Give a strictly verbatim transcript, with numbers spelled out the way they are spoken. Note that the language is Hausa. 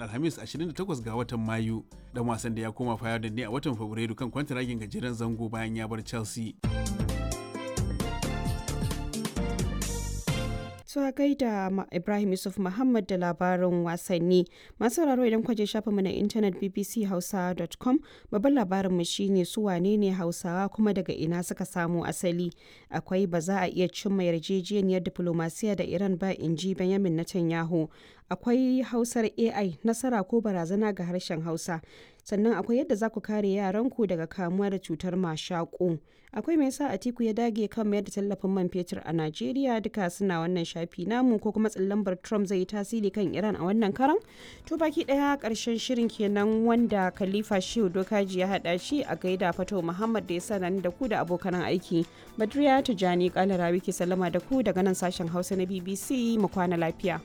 Alhamis ashirin da takwas ga watan Mayu. Dan wasan da ya koma Feyenoord ne a watan Fabrairu kan kwantaragin gajeren zango bayan ya bar Chelsea. To a gaida Ibrahim Yusuf Muhammad da labarin wasanni. Masu sauraro, idan kwaje shafinmu na intanet B B C hausa dot com, babban labarinmu shine su wane ne Hausawa kuma daga ina suka samo asali. Akwai ba za a iya cimma yarjejeniyar diplomasiya da Iran ba, in ji Benjamin Netanyahu. Akwai Hausar A I, nasara ko barazana ga harshen Hausa. Sannan akwai yadda za ku kare yaranku daga kamuwa da cutar mashaƙo. Akwai me yasa Atiku ya dage kan mayar da tallafin man fetur a Najeriya. Duka suna wannan shafi namu, ko kuma lambar Trump zai yi tasiri kan Iran a wannan karan. To, baki daya karshen shirin kenan wanda Khalifa Shehu Dokaji ya hada shi. A gaida Fato Muhammad da ya sa da ku da abokan aiki. Badriya Tijani Kalarawi ke sallama da ku daga nan sashen Hausa na B B C. Mu kwana lafiya.